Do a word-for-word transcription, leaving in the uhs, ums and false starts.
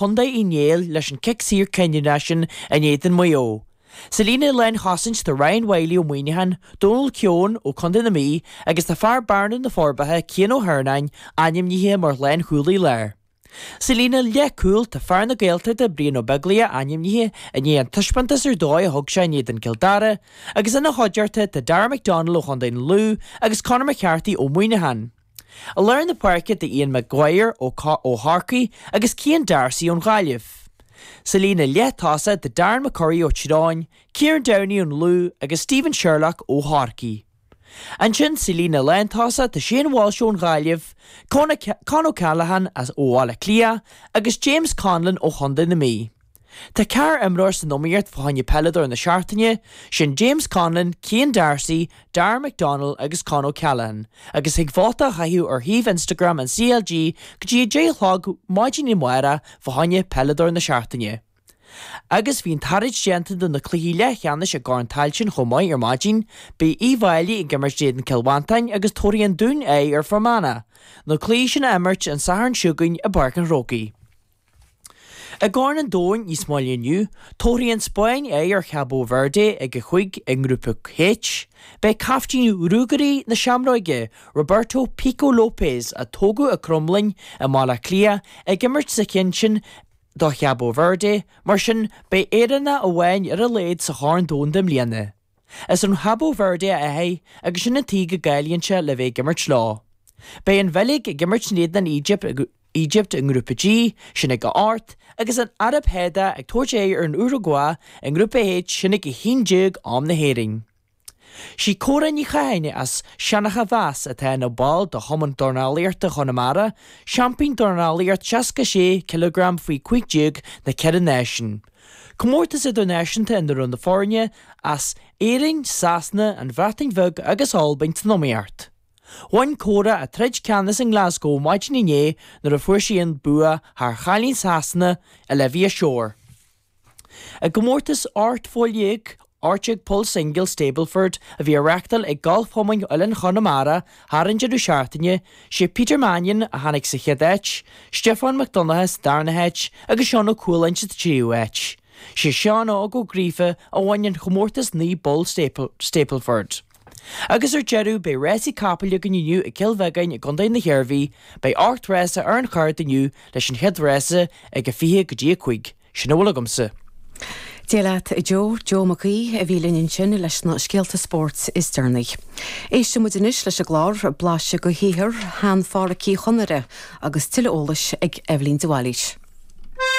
Chontae Uí Néill leis an cic saor cinniúnach sin in éadan Mhaigh Eo. Sa líne lánchosaint tá Ryan Wylie ó Muineachán, Donal Keown ó Chontae na Mí agus tá fear Bearna na Forbacha Cian Ó hEarnáin ainmnithe mar lánchúlaí láir. Sa líne leathchúil tá fear na Gaeltachta Brian Ó Beaglaoich ainmnithe i ndiaidh an taispeántas ar dóigh a thug sé in éadan Cill Dara agus ina chuideachta tá Darragh McDonnell ó Chontae na Lú agus Conor McCarthy ó Muineachán. I lár na páirce tá Ian Maguire ó ó Chorcaigh agus Cian D'Arcy ón Ghaillimh. Sa líne leath-tosaigh tá Darren McCurry ó Tiobraid Árann, Kieran Downey ón Lú agus Stephen Sherlock ó Chorcaigh. Ansin sa líne lántosaigh tá Shane Walsh ón Ghaillimh, Con O'Callaghan as ó Bhaile Átha Cliath agus James Conlon ó Chontae na Mí. Tá ceathrar imreoir san iomaíocht fá choinne peileadóir na seachtaine, sin James Conlon, Cian D'Arcy, Darren McDonnell agus Con O'Callaghan, agus thig vóta a chaitheamh ar shuíomh Instagram an CLG go dtí a deich a chlog maidin amárach fá choinne peileadóir na seachtaine. Agus bhí an taird déanta do na cluichí leathcheannais i gCorn Tailteann chomh maith ar maidin, beidh Uíbh Fhailí ag imirt in éadan Cill Mhantáin agus tabharfaidh an Dún aghaidh ar Fear Manach, na cluichí sin a imirt an Satharn seo chugainn i bPáirc an Chrócaigh. I gCorn an Domhain níos moille inniu, tabharfaidh an Spáinn aghaidh ar Chabo Verde ag a cúig i ngrúpa H. Beidh caiftín Ruagairí na Seamróige, Roberto Pico Lopes, a tógadh i Cromghlinn i mBaile Átha Cliath, ag imirt sa cheann sin do Chabo Verde, mar sin beidh Éireannach amháin ar a laghad sa Chorn Domhanda i mbliana. Is ón Chabo Verde a athair agus sin an tuige go gcáilíonn sé le bheith ag imirt leo. Beidh an Bheilg ag imirt in éadan an Éigipt Egypt i ngrúpa G, sin ag a hocht, agus an Araib Shádach ag tabhairt aghaidh ar an Urugua i ngrúpa H, sin ag a haon déag am na hÉireann. Sí Córa Ní Chatháin as Seancha Mheas atá ina ball de Chumann Dornálaíochta Chonamara, seaimpín dornálaíocht seasca sé cileagram faoi cúig déag na ceithre náisiún. Comórtas idirnáisiúnta ina raibh na foirne as Éirinn, Sasana, an Bhreatain Bheag agus Albain san iomaíocht. Bhain Córa a troid ceannais i nGlasgow maidin inné nuair a fuair sí an bua thar chailín Sasana Olivia Shore. I gcomórtas ocht bpoll déag ocht déag poll single Stableford a bhí á reáchtáil ag Galfchumann Oileán Chonamara thar an deireadh seachtaine, sé Peter Mannion a tháinig sa chéad áit, Stiofán Mac Donncha sa darna háit agus Seán Ó Cualáin sa tríú háit. Sé Seán Óg Ó Gríofa a bhain an chomórtas naoi bpoll Stableford. Agus ar deireadh beidh rásaí capaill againn inniu i gCill Bheagáin i gContae na hIarmhí, beidh ocht rása ar an chárta inniu leis an chéad rása ag a fiche go dtí a cúig. Sin a bhfuil agamsa. Dia leat Joe, Joe Mac Aoidh a bhí linn ansin leis na scéalta spóirt is deireanaí. Éistfidh muid anois leis an gclár blaiseadh de shaothar shean-Phádhraic Uí Chonaire agus tuilleadh eolais ag Eibhlín de Bhailís.